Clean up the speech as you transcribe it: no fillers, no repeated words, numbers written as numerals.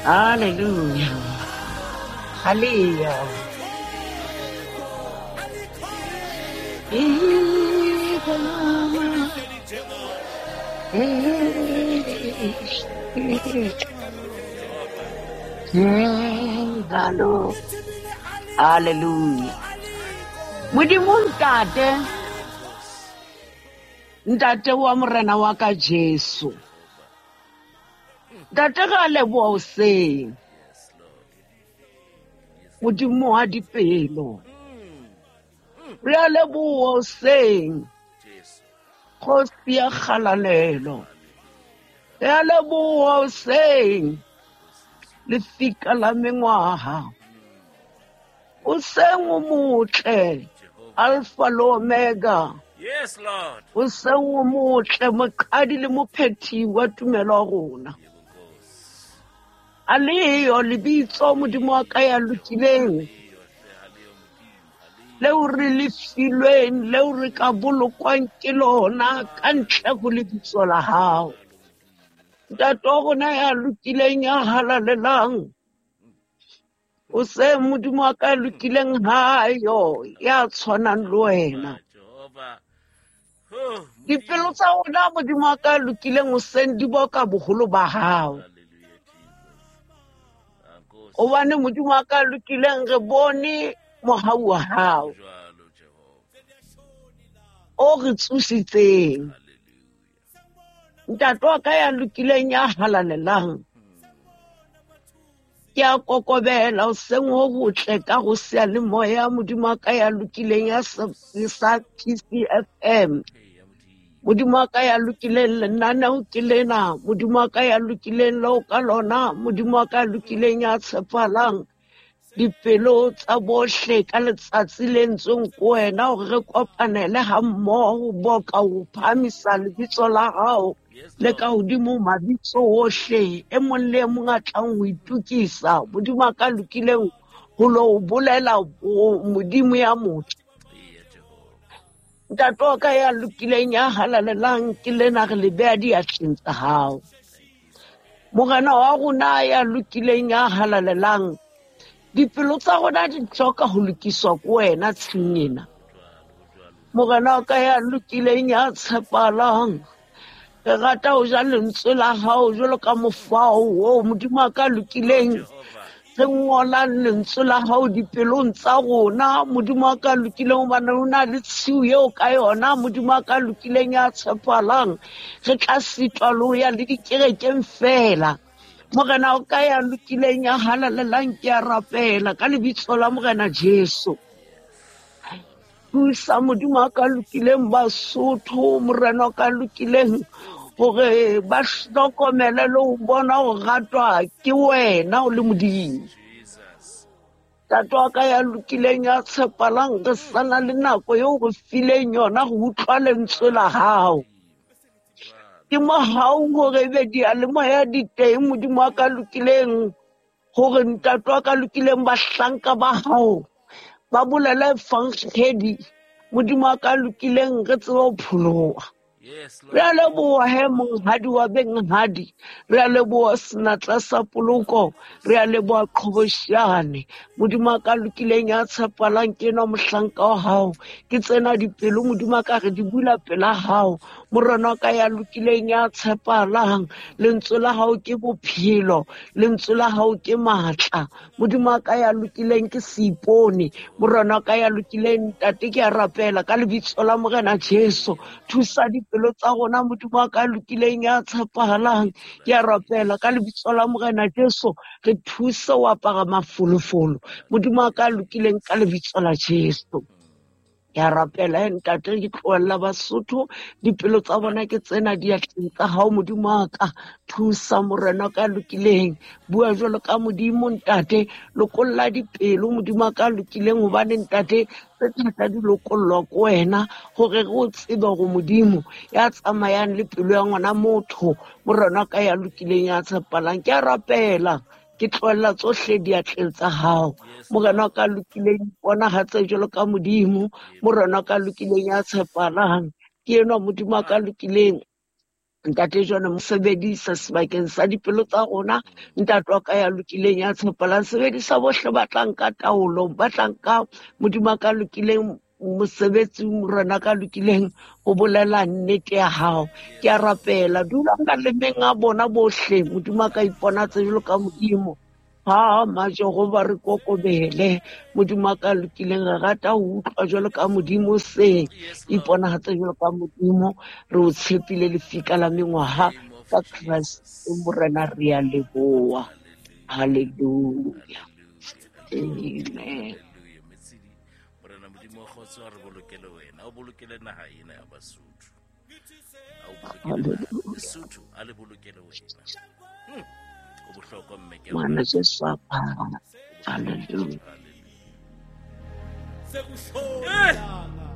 Hallelujah. Hallelujah. Hello. Hallelujah. Modimo ntate, ntate wa morena wa ka Jesu. Ntate ga leboha hoseng. Modimo wa dipelo. Re a leboha hoseng. Kgosi ya kgalalelo. Re a leboha hoseng. Lefika la mengwaha. O seng o motle. Alpha le Omega. Yes, Lord. O seng o motle, moqadi le mophethi wa tumelo ya rona. A leyo lebitso Modimo wa ka ya lokileng, leo re le filweng, leo re ka bolokwang ke lona ka ntle ho lebitso la hao. Ntate wa rona ya lokileng, ya halalelang, o se Modimo wa ka ya lokileng hayo ya tshwanang le wena. Dipelo tsa rona Modimo wa ka ya lokileng o seng di boka boholo ba hao. Hobane Modimo wa ka ya lokileng re bone mohau wa hao o re tsositseng. Ntate wa ka ya lokileng ya halalelang, ke a kokobela o seng ho botle ka go seyalemoya Modimo wa ka ya lokileng ya sa PCFM. Modimo wa ka ya lokileng lenaneo ke lena, Modimo wa ka ya lokileng leo ka lona, Modimo wa ka ya lokileng ya tshepahalang dipelo tsa bohle ka letsatsi le ntsweng ko wena hore re kopanele ha mmoho boka ho phahamisa lebitso la hao le ka hodimo mabitso ohle. E mong le e mong a tlang ho itokisa Modimo a ka lokileng ho lo bolela Modimo ya motho. Ntate wa ka ya lokileng ya halalelang ke lena re le beha diatleng tsa hao. Morena wa rona ya lokileng ya halalelang, dipelo tsa rona di hloka ho lokiswa ke wena tshing ena. Morena wa ka ya lokileng ya tshepahalang, re rata ho ja lentswe la hao jwalo ka mofao oo Modimo wa ka lokileng re ngolang lentswe la hao dipelong tsa rona. Modimo wa ka lokileng, hobane ho na le tshiu eo ka yona Modimo wa ka lokileng ya tshepahalang re tla sitwa le ho ya le dikerekeng fela. Morena o ka ya lokileng ya halalelang, ke a rapela ka lebitso la Morena Jesu. Thusa Modimo wa ka lokileng Basotho, Morena wa ka lokileng, hore ba hlokomele le ho bona ho ratwa ke wena o le Modimo. Ntate wa ka ya lokileng ya tshepalang, re sana le nako eo re fileng yona ho utlwa lentswe la hao. Ke mohau hore ebe diyalemoya di teng Modimo wa ka lokileng, hore ntate wa ka lokileng bahlanka ba hao ba bolele evanghedi Modimo wa ka lokileng, re tsebe ho pholoha. Re a leboha he monghadi wa benghadi, re a leboha senatla sa poloko, re a leboha qhobosheane. Modimo wa ka lokileng ya tshepalang ke enwa mohlanka wa hao, ke tsena dipelo Modimo wa ka re di bula pela hao. Morena wa ka ya lokileng ya tshepahalang, lentswe la hao ke bophelo, lentswe la hao ke matla. Modimo wa ka ya lokileng ke seipone. Morena wa ka ya lokileng ntate, ke a rapela ka lebitso la Morena Jesu, thusa dipelo tsa rona Modimo wa ka lokileng ya tshepahalang. Ke a rapela ka lebitso la Morena Jesu, re thuse ho apara mafolofolo Modimo wa ka lokileng ka lebitso la Jesu. Ke a rapela he ntate, ke tlohella Basotho, dipelo tsa bona ke tsena diatleng tsa hao Modimo wa ka. Thusa Morena ka lokileng, bua jwalo ka Modimo ntate, lokolla dipelo Modimo wa ka lokileng, hobane ntate tse thata di lokollwa ke wena, hore re o tsebe hore Modimo ya tsamayang le pelo ya ngwana motho, Morena ka ya lokileng ya tshepalang. Ke a rapela, ke tlohella tsohle diatleng tsa hao. Morena wa ka lokileng, iponahatse jwalo ka Modimo. Morena wa ka lokileng ya tshepahalang, ke enwa Modimo wa ka lokileng. Ntate jwale mo sebedisa sebakeng sa dipelo tsa rona. Ntate wa ka ya lokileng ya tshepalang, sebedisa bohle ba tlang ka taolo, ba tlang ka Modimo a ka lokileng mosebetsi, Morena ka lokileng ho bolela nnete ya hao. Ke a rapela, dula malemeng a bona bohle, Modimo a ka iponatse jwalo ka Modimo. Ha majehova re kokobele, Modimo a ka lokileng, re rata ho utlwa jwalo ka Modimo, se iponagatse jwalo ka Modimo. Re o tshepile lefika la mengwaha ka Christ Morena, re a leboha. Hallelujah, amen. Morena Modimo wa kgotso a re bolokele wena, o bolokele naha ena ya Basotho, a o bolokele Lesotho, a le bolokele wena. O bohlokwa mme ke Ngwana Jesu a phara. Hallelujah. Eh!